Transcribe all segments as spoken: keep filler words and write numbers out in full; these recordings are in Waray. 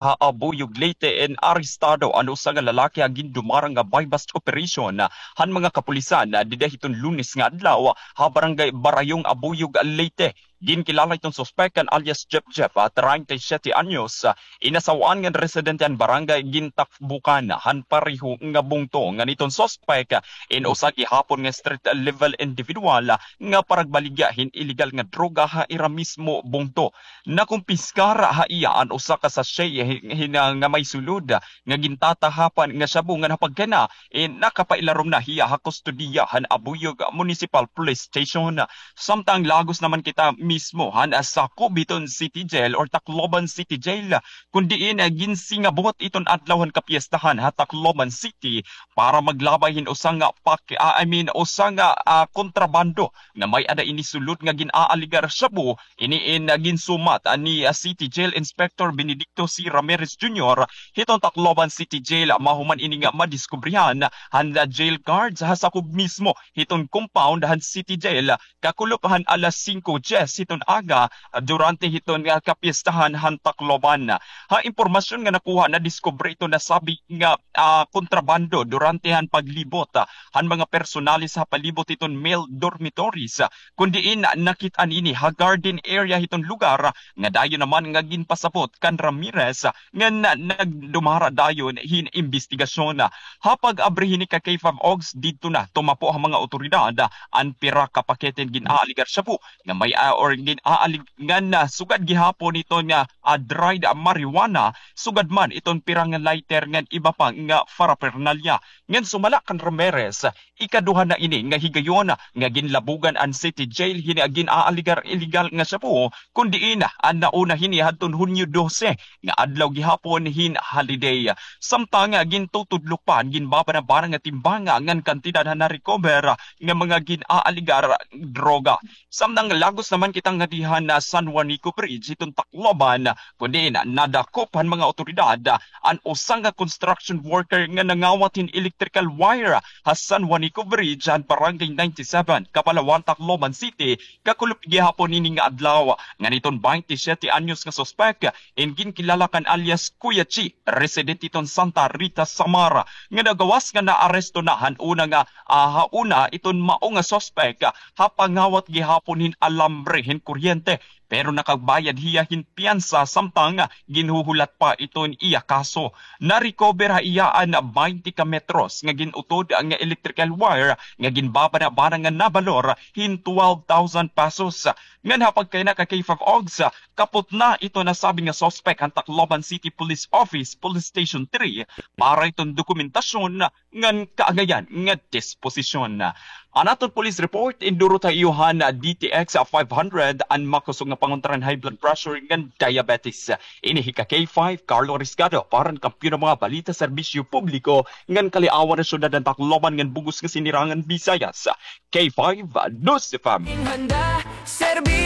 ha Abuyog, Leyte, in arestado an usa nga lalaki ha gindumara nga buy-bust operation han mga kapulisan dida hiton Lunes nga adlaw ha barangay Barayong, Abuyog, Leyte. Ginkilala iton suspek kan alias Jeff Jeff, ah, treinta y siete anyos, ah, inasaw-an ngan residente han barangay, gintakbukan han pareho nga bungto ngan iton suspek, ah, in usa gihapon nga street level individual, ah, nga paragbaligya hin iligal nga droga ha ira mismo bungto. Nakumpiskar ha iya an usa ka sachet hin, hin, ah, nga may sulod, ah, nga gintatahapan nga shabu ngan ha pagkaina, eh, nakapailarom na hiya ha kustodiya han Abuyog Municipal Police Station. Samtang lagos naman kita mismo han, ah, sakob hiton City Jail or Tacloban City Jail, kun diin, ah, ginsingabot iton adlaw han kapiestahan ha Tacloban City para maglabay hin usa nga pak-, ah, I mean, usa nga, ah, kontrabando nga may-ada ini sulod nga gin-aaligar shabu. Ini in, ah, ginsumat, ah, ni, ah, City Jail Inspector Benedicto C. Ramirez Junior hiton Tacloban City Jail, ah, mahuman ini nga madiskubrihan han, ah, jail guards ha sakob mismo hiton compound han City Jail, ah, kakulop han alas singko dyes hiton aga, ah, durante hiton, ah, kapiestahan han Tacloban. Ha impormasyon nga nakuha, nadiskubre iton nasabi nga, ah, kontrabando durante han paglibot, ah, han mga personalis ha palibot hiton male dormitories, ah, kun diin nakit-an ini ha garden area hiton lugar, ah, nga dayon naman nga ginpasabot kan Ramirez, ah, ngan nagdumara dayon hin imbestigasyon. Ha pag-abri hini ka K five Ogs, didto na tumapo ha mga awtoridad, ah, an pira ka pakete hin gin-aaligar shabu nga may, ah, or gin-aalig-, ngan, ah, sugad gihapon iton nga, ah, dried marijuana, sugad man iton pira nga lighter ngan iba pa nga paraphernalia. Ngan sumala kan Ramirez, ikaduha na ini nga higayon nga ginlabugan an City Jail hini nga gin-aaligar iligal nga shabu, kun diin an nauna hini hadton Hunyo dose nga adlaw gihapon hin holiday. Samtang gintutudlok pa an ginbabanabana nga timbanga ngan kantidad han na-recover nga mga gin-aaligar droga. Samtang lagos naman kita ngadi han, ah, San Juanico Bridge hiton Tacloban, kun diin nadakop han mga awtoridad an usa nga construction worker nga nangawat hin electrical wire ha San Juanico Bridge han Barangay ninety-seven, Kapalawan, Tacloban City, kakulop gihapon ini nga adlaw. Ngan iton baynte siyete anyos nga suspek, in ginkilala kan alias Kuya Chi, residente iton Santa Rita, Samar, nga nagawas nga naaresto na han una nga, ah, ha una iton mao nga suspek, ah, ha pangawat gihapon hin alambre hin kuryente, pero nakabayad hiya hin piyansa samtang ginhuhulat pa iton iya kaso. Na-recover ha iya an baynte ka metros nga gin-utod nga electrical wire nga ginbabanabana nga nabalor hin twelve thousand pesos. Ngan ha pagkaina ka K five Ogs, kaputna iton nasabi nga suspek han Tacloban City Police Office, Police Station three, para iton dokumentasyon ngan kaagayan nga disposisyon. An aton police report, indurot ha iyo han D T X five hundred, an makusog nga pangontra han high blood pressure ngan diabetes. Ini hi ka K five, Carlo Riscado, para han Kampiyon nga mga balita, serbisyo publiko, ngan kaliawan han syudad han Tacloban ngan bug-os nga sinirangan Visayas. K five News F M.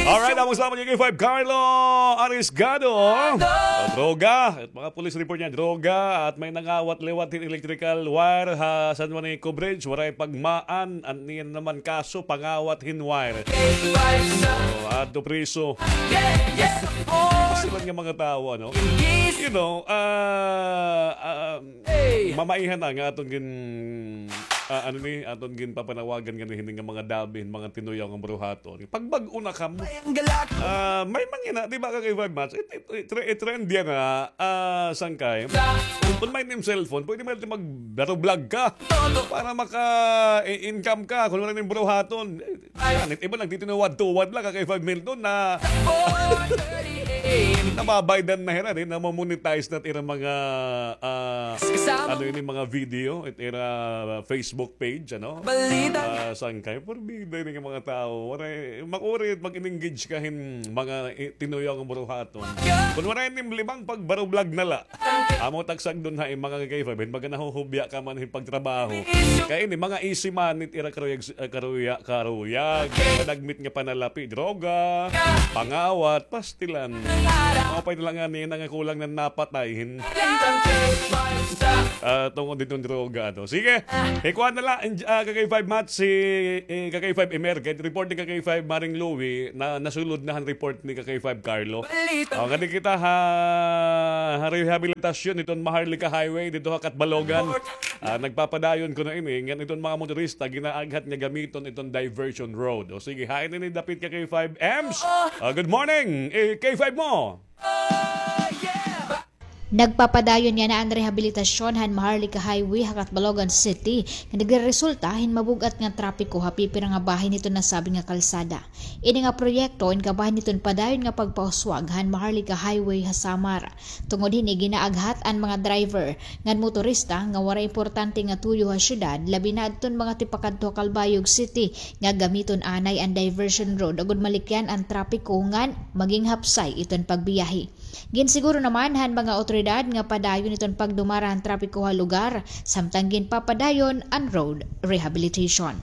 Alright, amo salamat kay K five Carlo Arisgado. Sa droga, at mga police report niya, droga, at may nangawat liwat hin electrical wire ha San Juanico Bridge, waray pagmaan, an niyan naman kaso, pangawat hin wire. So, adto priso. Sila nga mga tawo, ano? You know, ah, ah, mamaihan na nga aton gin-, ah, ano ni, aton ginpapanawagan nga hini nga mga dabi, mga tinuyaw nga bruhaton. Pagbag-o na kamo. Ah, may mangina, di ba, ka K five Mats? It, it, it, it trend yan nga, ah, sangkay. Kung may nim cellphone, pwede mo natin mag-vlog ka para maka-income ka. Kung wala nim bruhaton, eh, yan, it iba nagtitinuwad-tuwad la, ka K five Milton, na nababaydan na hira, di, na-monetize na ira mga, ah, ano ini, mga video, it ira Facebook page, ano? Ah, sangkay, porbida ini nga mga tawo. Waray, makuri, mag-engage ka hin mga i-, tinuyaw nga bruhaton. Kun waray nim limang, pagbarublog na la. Amo tagsagdon ha, eh, mga ka K five, hin mga nahuhubya ka man hin pagtrabaho. Kay ini, mga easy money it ira karuyag, eh, karuya-, karuyag. Panagmit nga panalapi, droga, pangawat, pastilan. Maupay na la ngani nga kulang na napatay hin, ah, tungod hiton droga, ano. Sige, ikuan na la, ah, ka K five Mats, si, eh, ka K five Emer, kay report ni ka K five Maring Louie, na nasulod na han report ni ka K five Carlo. O, ngadi kita ha, ha rehabilitasyon hiton Maharlika Highway, didto ha Catbalogan. Ah, nagpapadayon kuno ini, ngan iton mga motorista, ginaaghat nga gamiton iton diversion road. O sige, hain ini dapit ka K five Ems. Ah, good morning, eh, K five mo. Nagpapadayon yana an rehabilitasyon han Maharlika Highway ha Catbalogan City, nga nagreresulta hin mabug-at nga trapiko ha pipira nga bahin hiton nasabi nga kalsada. Ini nga proyekto in kabahin hiton padayon nga pagpauswag han Maharlika Highway ha Samar. Tungod hini ginaaghat an mga driver ngan motorista nga waray importante nga tuyo ha syudad, labi na adton mga tipakadto ha Calbayog City nga gamiton anay an diversion road agod malikyan an trapiko ngan maging hapsay iton pagbiyahe. Ginsiguro naman han mga awtoridad nga padayon iton pagdumara han trapiko ha lugar, samtang ginpapadayon an road rehabilitation.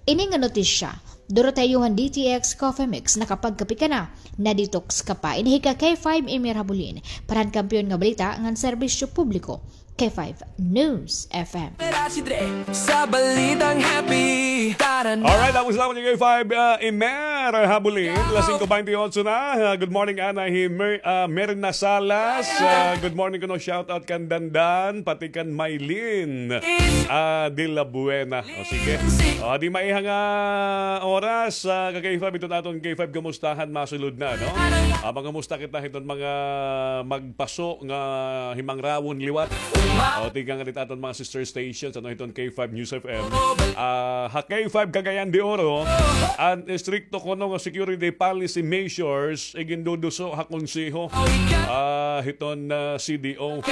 Ini nga notisya, duro ta ha iyo han D T X Coffee Mix, nakapagkape ka na, na-detox ka pa. Ini hi ka K five Emir Habulin, para han kampiyon nga balita ngan serbisyo publiko, K five News F M. Sa balitang happy, tara na. Alright, tapos lang kay K five, ah, Emer Habulin. Alas singko baynte otso na. Ah, good morning, Ana. Hi, Mer-, ah, Merna Salas. Ah, good morning kuno. Shout out kan Dandan, pati kan Maylin, ah, de la Buena. O, sige. O, di maiha nga oras, ah, ka K five, iton aton K five, kumustahan, masulod na, no? Ah, mangumusta kita hiton mga magpaso nga himangrawon liwat. O, tikang nga dito aton mga sister stations, ano, hiton K five News F M. Ah, ha K five Cagayan de Oro, an estrikto kuno nga security policy measures, iginduduso ha konseho, ah, hiton, ah, C D O.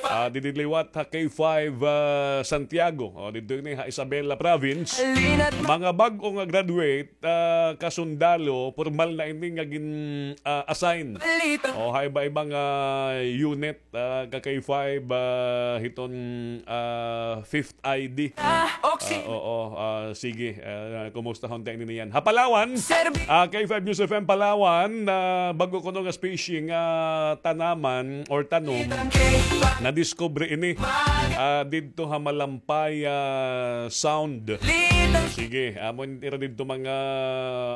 Ah, didi liwat ha K five, ah, Santiago. O, didto ini ha Isabela Province. Mga bag-o nga graduate, ah, kasundalo, pormal na ini nga gin, ah, assign. O, ha iba-iba nga unit, ah, ka K five, ah, hiton, ah, Fifth I D. Ah, oo, ah, sige. Ah, kumusta ho ta ini niyan? Ha Palawan, ah, K five News F M Palawan, ah, bag-o kuno nga species nga tanaman or tanom, nadiskubre ini, ah, didto ha Malampaya Sound. Sige, amo ira didto mga,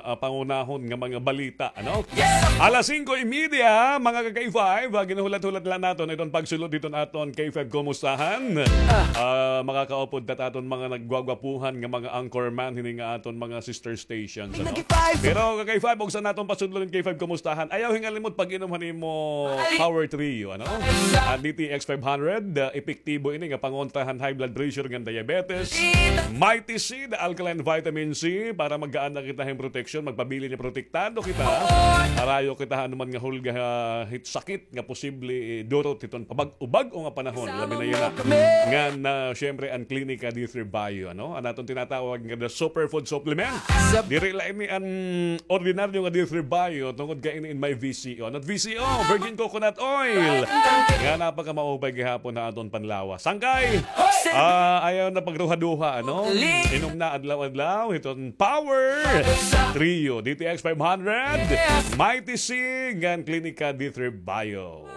ah, pangunahon nga mga balita, ano? Alas singko y media, mga ka K five, ah, ginhulat-hulat la naton iton pagsulod hiton aton K five Kumustahan. Ah, makakaupod ta aton mga naggwagwapuhan nga mga anchorman hini nga aton mga sister stations, ano? Pero ka K five, ugsa naton pasudlon K five Kumustahan, ayaw hingalimot pag-inom han imo Power Trio, ano? An D T X five hundred, ah, epektibo ini nga pangontra han high blood pressure ngan diabetes. Mighty C, the alkaline vitamin C, para magkaada kita hin proteksyon, magpabilin nga protektado kita. Harayo kita ha anuman nga hulga, ha, hit sakit nga posible, eh, durot hiton pabag-o-bag-o nga panahon, labi na yana ngan, ah, syempre, an Klinika D three Bio, ano? An aton tinatawag nga the superfood supplement. Diri la ini an ordinaryo nga D three Bio, tungod kay ini in may V C O. Ano it V C O? Virgin coconut oil. Nga napakamaupay gihapon ha aton panlawas. Sangkay, ah, ayaw na pagruha-duha, ano? Inom na adlaw-adlaw hiton Power Trio, D T X five hundred, Mighty C, ngan Klinika D three Bio.